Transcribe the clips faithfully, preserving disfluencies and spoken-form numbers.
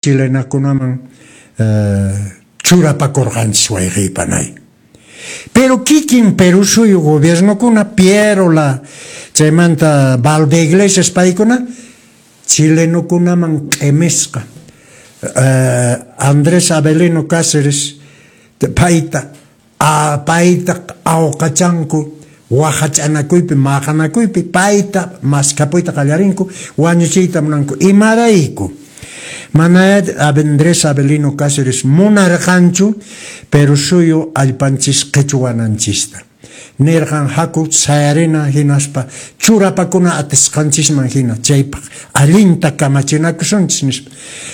Chilenakunaman churapakurqanchis, wayqiypanay. Pero kikin Perú suyu gobiernokuna, Pierola, chaymanta Valdeiglesias, paykuna chilenokunaman q'imisqa Andrés Avelino Cáceres payta payta awqachanku waqach'anakuypi, maqanakuypi payta maskhapuyta qallarinku, wañuchiyta munanku. Imarayku? Mana Andrés Avelino Cáceres munarqanchu Perú suyu allpanchis qhichwananchista. Nirqan haku sayarina hinaspa churapakuna atisqanchisman hina, chaypaq allinta kamachinakusunchis nispa.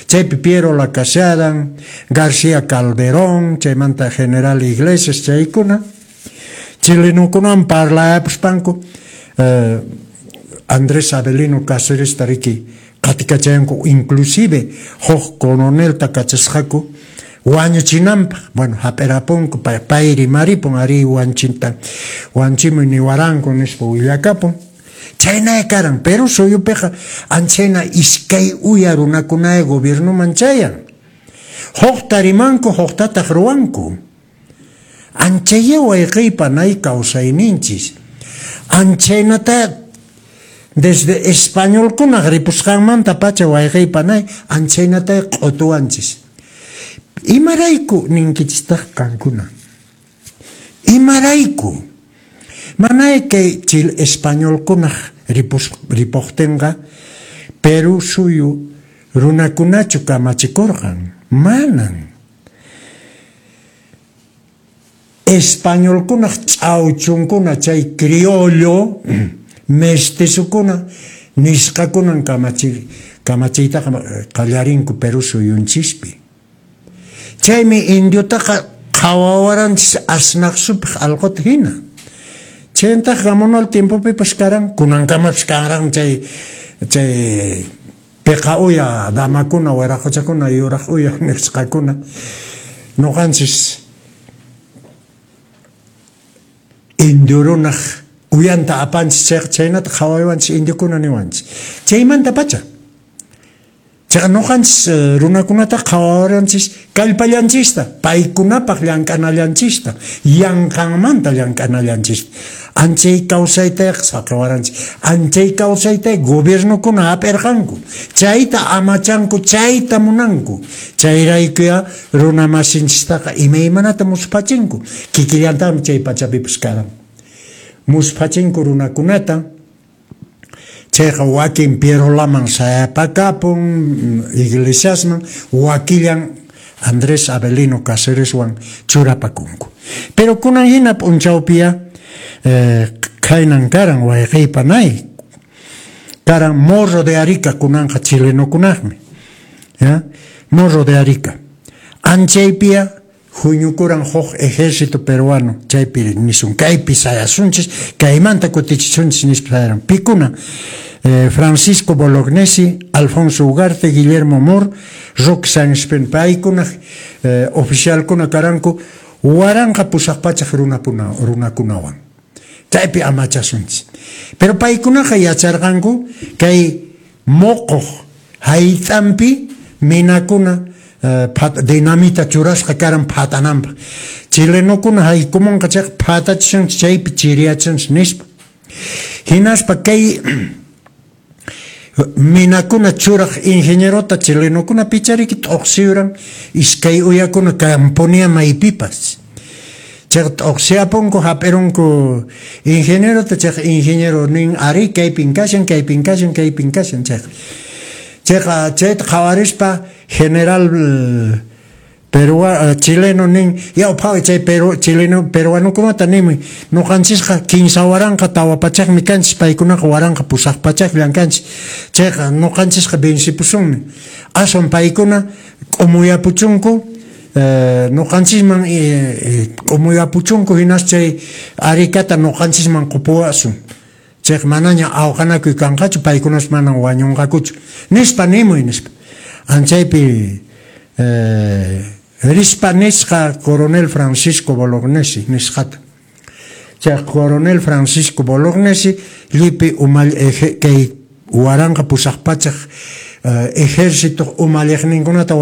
Chaypi Pierola kasharan, García Calderón, chaymanta General Iglesias, chaykuna chilenokunawan parlayapuspanku eh, Andrés Avelino Cáceres riki qatikachanku, inclusive huk coronelta kachasqaku wañuchinanpaq. Bueno, hap'irapunku, pay rimaripun, ari wanchinta wanchimuy niwaranku nispa willakapun. Chhaynaya karan Perú suyupiqa. Anchayna iskay uya runakunaya gobiernoman chayan, hukta rimanku, huktataq ruwanku. Anchaya wayqiypanay kawsayninchis anchaynata desde españolkunaq ripusqanmanta pacha, wayqiypanay, anchaynata q'utuwanchis. Imarayku ninkichistaq qankuna? Imarayku? Manay kay chil españolkunaq ripus ripuqtinqa Perú suyu runakunachu kamachikurqan? Manan. Españolkunaq ch'awchunkuna, chay criollo mestizokuna nisqakunan kamachi kamachiytaqa qallarinku Perú suyunchispi. Chaymi indiotaqa qhawawaranchis asnaq supaq alquta hina. Chayntaq Gamonal tiempopipas karan, kunankamapas karan chay chay piqa uya damakuna, wiraquchakuna, yuraq uya nisqakuna. Nuqanchis indio runaq uyanta apanchis chayqa, chaynata qhawaywanchis indiokuna niwanchis. Chaymanta pacha. Chayqa nuqanchis runakunata qhawawaranchis kallpallanchista, paykunapaq llank'anallanchista, yanqanmanta llank'anallanchista. Anchay kawsaytaqa saqiwaranchis. Anchay kawsayta gobiernokuna hap'irqanku. Chayta amachanku, chayta munanku. Chayraykuya runa masinchistaqa imaymanata musphachinku. Kikillantaqmi chay pachapipas karan. Musphachinku runakunata. Chayqa wakin Pierolaman sayapakapun, Iglesiasman, wakillan Andrés Avelino Cácereswan churapakunku. Pero kunan hina p'unchawpiya eh, khaynan karan, wayqiypanay. Karan Morro de Arica kunanqa chilenokunaqmi. Ya? Morro de Arica. Anchaypiya huñukuran huk ejército peruano, chaypi nisun kaypi sayasunchis, kaymanta kutichisunchis nispa sayaran. Pikuna eh, Francisco Bolognesi, Alfonso Ugarte, Guillermo Moore, Roque Sáenz Peña, paykunaq eh, oficialkuna karanku waranqa pusaq pachak runapuna runakunawan. Chaypi amachasunchis. Pero paykunaqa yacharqanku kay moqoq hayt'anpi minakuna dinamita churasqa karan phatananpaq. Chilenokuna haykumunqa chayqa phatachishanchis, chaypi chiriyachinchis nispa. Hinaspa kay minakuna churaq ingenierota chilenokuna pichariki t'uqsiyuran iskay uyakuna kampunia maypipas. Chayqa t'uqsiyapunku, hap'irunku ingenierota, chayqa ingeniero nin ari kaypin kashan, kaypin kashan, kaypin kashan chayqa. Chayqa chayta qhawarispa general perua chileno nin yaw phaway chay peru chileno peruanokunata ninmi nuqanchisqa kinsa waranqa tawa pachakmi kanchis, paykunaqa waranqa pusaq pachakllan kanchis, chayqa nuqanchisqa vencipusunmi, aswan paykuna k'umuyapuchunku nuqanchisman k'umuyapuchunku hinas chay Aricata nuqanchisman qupuwasun, chayqa manaña awqanakuy kanqachu, paykunas manan wañunqakuchu nispa nimuy nispa. Anchaypi eh, rispa nisqa coronel Francisco Bolognesi nisqata. Chay coronel Francisco Bolognesi llipi umal eh, kay waranqa pusaq pachak Ejército umalliqninkunata.